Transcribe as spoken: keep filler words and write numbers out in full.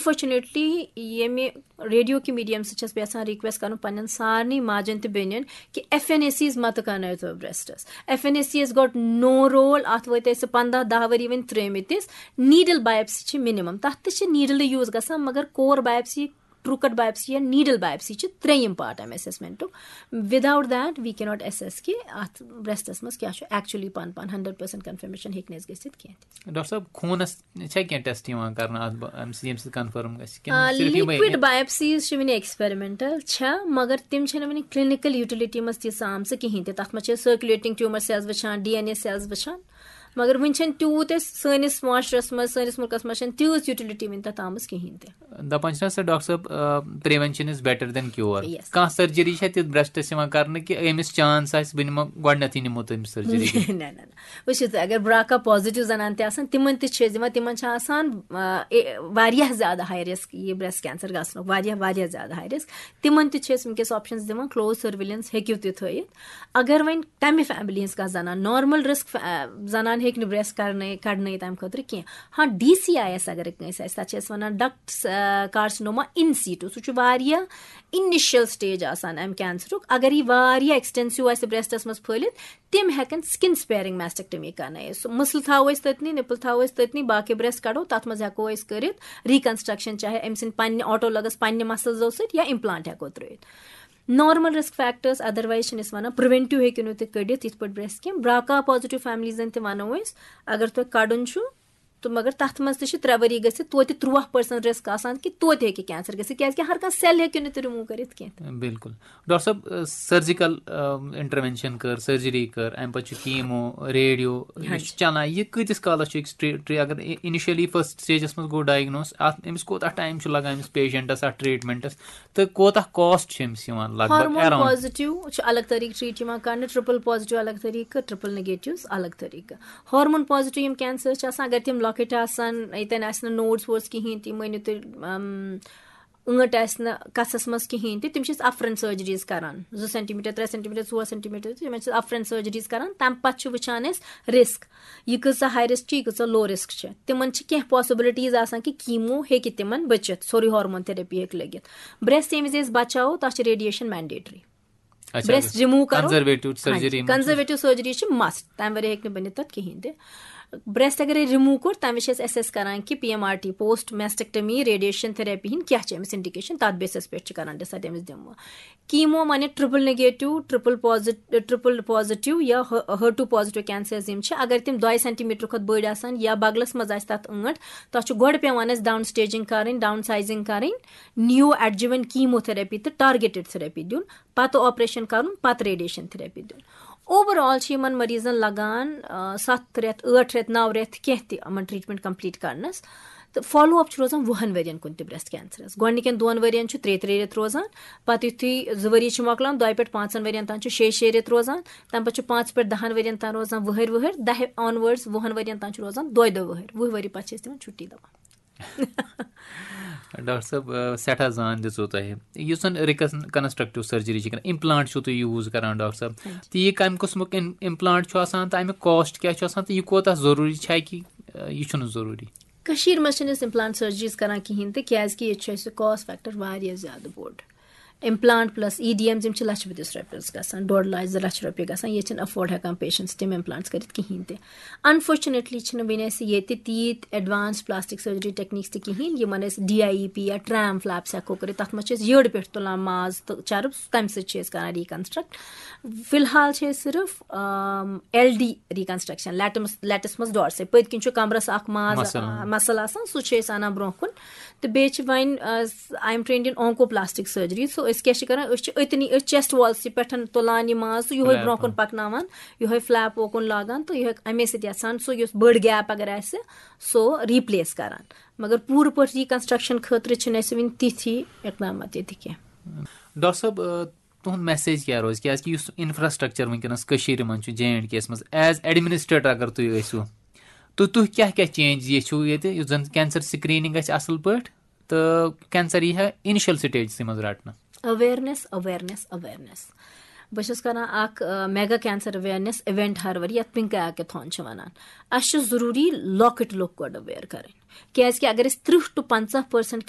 انفارچُنیٹلی ییٚمہِ ریڈیو کہِ میٖڈیم سۭتۍ چھَس بہٕ یَژھان رِکویسٹ کَرُن پنٛنٮ۪ن سارنٕے ماجَن تہٕ بیٚنٮ۪ن کہِ ایف این اے سیٖز مہ تُکنٲیتو برٛیسٹَس۔ ایف این اے سیٖز گاٹ نو رول، اَتھ وٲتۍ اَسہِ پنٛداہ دَہ ؤری وۄنۍ ترٛٲومٕتِس۔ نیٖڈل بایپسی چھِ مِنِمَم، تَتھ تہِ چھِ نیٖڈلٕے یوٗز گژھان، مگر کور بایپسی، ٹرٛوٗ کَٹ بایپسی یا نیٖڈل بایپسی چھِ ترٛیٚیِم پارٹ اَمہِ اسیسمنٹُک۔ Without that we cannot assess کہِ اَتھ برٛیسٹَس منٛز کیٛاہ چھُ ایکچُلی پَن پَن، ہنڈریڈ پٔرسنٹ کنفرمیشن ہیٚکہِ نہٕ اَسہِ گٔژھِتھ کینٛہہ تہِ۔ ڈاکٹر صٲب، خوٗنَس چھا کینٛہہ ٹیسٹ یِوان کرنہٕ اَتھ بہ- اَمہِ سۭتۍ، ییٚمہِ سۭتۍ کنفرم گژھِ کِنہٕ صرف یِمَے؟ لِکوِڈ بایپسیٖز چھِ وٕنہِ ایکسپیرمنٹل چھےٚ، مگر تِم چھِنہٕ وٕنہِ کلینکل یوٹیلٹی منٛز تیٖژ آمژٕ کِہینۍ تہِ۔ تَتھ منٛز چھِ سرکولیٹنگ ٹیوٗمر سیلز وٕچھان، ڈی این اے سیلز وٕچھان، مگر وٕنہِ چھَنہٕ تیوٗت اَسہِ سٲنِس معاشرس منٛز، سٲنِس مُلکس منٛز چھَنہٕ تیٖژ یوٹیلٹی وٕنہِ تَتھ آمٕژ کِہینۍ تہِ۔ دَپان چھِنہ سر ڈاکٹر صٲب، prevention is better than cure. Yes. کانٛہہ سرجری چھا تِژھ برٛیسٹس یِوان کرنہٕ کہِ أمِس چانس آسہِ، بہٕ نِمہٕ گۄڈٕنٮ۪تھٕے نِمو تٔمِس سرجری؟ نہ نہ نہ، وٕچھِو تُہۍ، اگر براکا پازیٹیو زنان تہِ آسان، تِمن تہِ چھِ أسۍ دِوان، تِمن چھِ آسان آ، اے- واریاہ زیادٕ ہاے رسک یہِ برٛیسٹ کینسر گژھنُک، واریاہ واریاہ زیادٕ ہاے رسک۔ تِمن تہِ چھِ أسۍ وٕنکیٚس آپشنز دِوان، کلوز سرویلنس ہیٚکِو تُہۍ تھٲیِتھ۔ اگر وۄنۍ تمہِ فیملی ہٕنٛز کانٛہہ زنان، نارمل رسک زنان ہیٚکہِ نہٕ برٛیسٹ کرنٲے کڑنٲیِتھ تمہِ خٲطرٕ کینٛہہ۔ ہاں، ڈی سی آی ایس اگر کٲنٛسہِ آسہِ، تتھ چھِ أسۍ ونان ڈکٹس کارسِنوما ان سیٹو، سُہ چھُ واریاہ انیشل سٹیج آسان امہِ کینسرُک۔ اگر یہِ واریاہ ایکسٹینسو آسہِ برٛیسٹس منٛز پھٔہلِتھ، تِم ہیٚکن سکن سپیرنگ میسٹیکٹمی کرنٲیِتھ۔ سُہ مسلہٕ تھاوو أسۍ تٔتنٕے، نپل تھاوو أسۍ تٔتنٕے، باقٕے برٛیسٹ کڑو، تتھ منٛز ہیٚکو أسۍ کٔرِتھ ریکنسٹرکشن، چاہے أمۍ سٕنٛدِ پننہِ آٹولگس پننہِ مسلزو سۭتۍ یا امپلانٹ ہیٚکو ترٲیِتھ۔ نارمل رسک فیکٹرز، ادروایز چھِنہٕ أسۍ ونان، پریونٹیو ہیٚکِو نہٕ تُہۍ کٔڑِتھ یِتھ پٲٹھۍ برٛیسٹ کینٛہہ۔ براکا پازیٹیو فیملیزن تہِ ونو أسۍ، اگر تۄہہِ کڑُن چھُ تہٕ مگر تتھ منٛز تہِ چھِ ترٛےٚ ؤری گٔژھِتھ توتہِ ترٛواہ پٔرسنٹ رسک آسان کہِ توتہِ ہیٚکہِ کینسر گٔژھِتھ، کیازِ کہِ ہر کانٛہہ سیل ہیٚکِو نہٕ تُہۍ رِموٗ کٔرِتھ کینٛہہ۔ بِلکُل۔ ڈاکٹر صٲب، سرجیکل انٹروینشن کٔر، سرجری کٔر، امہِ پتہٕ چھُ کیمو، ریڈیو، ہاں یہِ چھُ چلان، یہِ کۭتِس کالس چھُ أکِس ٹری-، ٹری-، اگر انیشلی فرسٹ سٹیجس منٛز گوٚو ڈایگنوس، اتھ أمِس کوٗتاہ ٹایم چھُ لگان أمِس پیشنٹس اتھ ٹریٹمنٹس، تہٕ کوٗتاہ کاسٹ چھُ أمِس یِوان لگ بگ ہارمون اراؤنڈ؟ پازیٹیو چھُ الگ طریقہٕ ٹریٹ یِوان کرنہٕ، ٹرپل پازیٹیو الگ طریقہٕ، ٹرپل نگیٹیوز الگ طریقہٕ۔ ہارمون پازیٹیو یِم کینسر چھِ آسان، اگر تِم لۄکٕٹۍ آسان، ییٚتٮ۪ن آسہِ نہٕ نوڈس ووڈس کِہینۍ تہِ، مٲنِو تُہۍ، ام، ٲنٹ آسہِ نہٕ کَژھَس منٛز کِہینۍ تہِ، تِم چھِ أسۍ اَفرَن سرجریٖز کران، زٕ سینٹیمیٹر، ترٛےٚ سینٹیمیٹر، ژور سینٹیمیٹر، تِمن چھِ أسۍ اَفرَن سرجریٖز کران۔ تَمہِ پَتہٕ چھِ وٕچھان أسۍ رسک، یہِ کۭژاہ ہاے رسک چھِ، یہِ کۭژاہ لو رسک چھِ۔ تِمن چھِ کینٛہہ پاسبلٹیٖز آسان کہِ کیمو ہیٚکہِ تِمن بٔچِتھ، سورُے ہارمون تھراپی ہیٚکہِ لٔگِتھ۔ برٛیسٹ ییٚمہِ وِزِ أسۍ بچاوو، تَتھ چھِ ریڈیشن مینڈیٹری۔ اچھا، برٛیسٹ رِموٗو کرو۔ کنزرویٹو سرجری منٛز چھُ؟ کنزرویٹو سرجری چھِ مسٹ، تَمہِ ورٲے ہیٚکہِ نہٕ بٔنِتھ تَتھ کِہینۍ تہِ۔ برٛیسٹ اگر رِموٗو کوٚر، تَمہِ وِزِ چھِ أسۍ ایسیس کران کہِ P M R T, post mastectomy radiation therapy ہِنٛدۍ کیٛاہ چھِ أمِس انڈیکیشن، تَتھ بیسس پٮ۪ٹھ چھِ کران ڈِسایڈ أمِس دِمو کیمو، معنی triple negative, triple پازیٹ-، triple positive یا ہر ٹو پازیٹیو کینسرز یِم چھِ، اگر تِم دۄیہِ سینٹیمیٹر کھۄتہٕ بٔڑۍ آسان یا بغلس منٛز آسہِ تَتھ ٲنٹ، تَتھ چھُ گۄڈٕ پٮ۪وان اَسہِ ڈاؤن سٹیجنگ کرٕنۍ، ڈاؤن سائزنگ کرٕنۍ، نیو ایڈجوینٹ کیمو تھراپی تہٕ ٹارگیٹڈ تھراپی دیُن، پتہٕ آپریشن کرُن، پتہٕ ریڈیشن تھراپی دیُن۔ اوور آل چھِ یِمن مریضن لگان، آ، ستھ رٮ۪تھ، ٲٹھ رٮ۪تھ، نو رٮ۪تھ، کینٛہہ تہِ یِمن ٹریٹمنٹ کمپلیٖٹ کرنس۔ تہٕ فالو اپ چھُ روزان وُہن ؤرین کُن تہِ برٛیسٹ کینسرس۔ گۄڈٕنِکٮ۪ن دۄن ؤرین چھُ ترٛےٚ ترٛےٚ رٮ۪تھ روزان، پتہٕ یُتھُے زٕ ؤری چھِ مۄکلان، دۄیہِ پٮ۪ٹھ پانٛژن ؤرین تام چھُ شیٚیہِ شیٚیہِ رٮ۪تھ روزان، تمہِ پتہٕ چھُ پانٛژِ پٮ۪ٹھ دَہن ؤرین تام روزان وُہٕرۍ وُہٕرۍ، دَہہِ آن ورڈس وُہن ؤرین تام چھُ روزان دۄیہِ دۄہ وُہٕرۍ، وُہہِ ؤری پتہٕ چھِ أسۍ تِمن چھُٹی دِوان۔ ڈاکٹر صٲب، آ، سٮ۪ٹھاہ زان دِژوٕ تۄہہِ۔ یُس زَن ریکن-، کنسٹرکٹیو سرجری چھِ کران، امپلانٹ چھِو تُہۍ یوٗز کران، ڈاکٹر صٲب، تہٕ یہِ کَمہِ قٕسمُک اِم-، امپلانٹ چھُ آسان تہٕ اَمیُک کاسٹ کیٛاہ چھُ آسان تہٕ یہِ کوٗتاہ ضروٗری چھا کہِ، آ، یہِ چھُنہٕ ضروٗری؟ کٔشیٖرِ منٛز چھِنہٕ أسۍ امپلانٹ سرجریٖز کران کِہینۍ تہِ، کیازِ کہِ ییٚتہِ چھُ اَسہِ کاسٹ فیکٹر واریاہ زیادٕ بوٚڑ۔ Implant plus E D M, یِم چھِ لچھ بٔدِس رۄپیَس گژھان، ڈۄڈ لچھ، زٕ لچھ رۄپیہِ گژھان، ییٚتہِ چھِنہٕ افورڈ ہٮ۪کان پیشنٹس تِم امپلانٹس کٔرِتھ کِہینۍ تہِ۔ انفارچُنیٹلی چھِنہٕ وٕنہِ اَسہِ ییٚتہِ تیٖتۍ ایڈوانس پلاسٹک سرجری ٹیکنیکس تہِ کِہینۍ، یِمن أسۍ ڈی آی ای پی یا ٹرام فلیپس ہٮ۪کو کٔرِتھ۔ تَتھ منٛز چھِ أسۍ یٔڑ پٮ۪ٹھ تُلان ماز تہٕ چرٕب، تَمہِ سۭتۍ چھِ أسۍ کران ریکنسٹرکٹ۔ فی الحال چھِ أسۍ صرف، آم، L D reconstruction, litmus, let's منٛز ڈارسے، پٔتۍ کِنۍ چھُ کمرس اکھ ماز، مسل۔ آ، مسل آسان، سُہ چھِ أسۍ انان برونٛہہ کُن۔ تہٕ بیٚیہِ چھِ وۄنۍ، آ، I am trained in onco plastic surgery، so أسۍ کیٛاہ چھِ کران، أسۍ چھِ أتنی، أسۍ چیسٹ والسٕے پٮ۪ٹھ تُلان یہِ ماز تہٕ یِہوٚے فلیپ۔ برونٛہہ کُن پکناوان، یِہوٚے فلیپ اوکُن لاگان تہٕ یِہوٚے اَمے سۭتۍ یَژھان سُہ یُس بٔڑ گیپ اگر آسہِ، سُہ ریپلیس کران۔ مگر پوٗرٕ پٲٹھۍ ریکنسٹرکشن خٲطرٕ چھِنہٕ اَسہِ وٕنہِ تِتھۍ اقدامات ییٚتہِ کینٛہہ۔ ڈاکٹر صٲب، آ، تُہُنٛد میسیج کیٛاہ روزِ؟ کیٛازِ کہِ یُس انفراسٹرکچر وٕنکیٚنس کٔشیٖرِ منٛز چھُ، جے اینڈ کے یَس منٛز، ایز ایڈمنسٹریٹر اگر تُہۍ ٲسِو، تہٕ تُہۍ کیٛاہ کیٛاہ چینج یژھِو ییٚتہِ، یُتھ زن کینسر سکریننگ گژھِ اصل پٲٹھۍ تہٕ کینسر یی ہا انیشل سٹیجسٕے منٛز رٹنہٕ؟ Awareness, awareness, awareness. بہٕ چھَس کران اکھ، آ، میگا کینسر اویرنس ایونٹ ہر ؤری، یَتھ پِنک ہیکتھان چھِ وَنان۔ اَسہِ چھُ ضروٗری لۄکٕٹۍ لُکھ گۄڈٕ اویر کَرٕنۍ، کیازِ کہِ اگر أسۍ ترٕٛہ to پنٛژاہ percent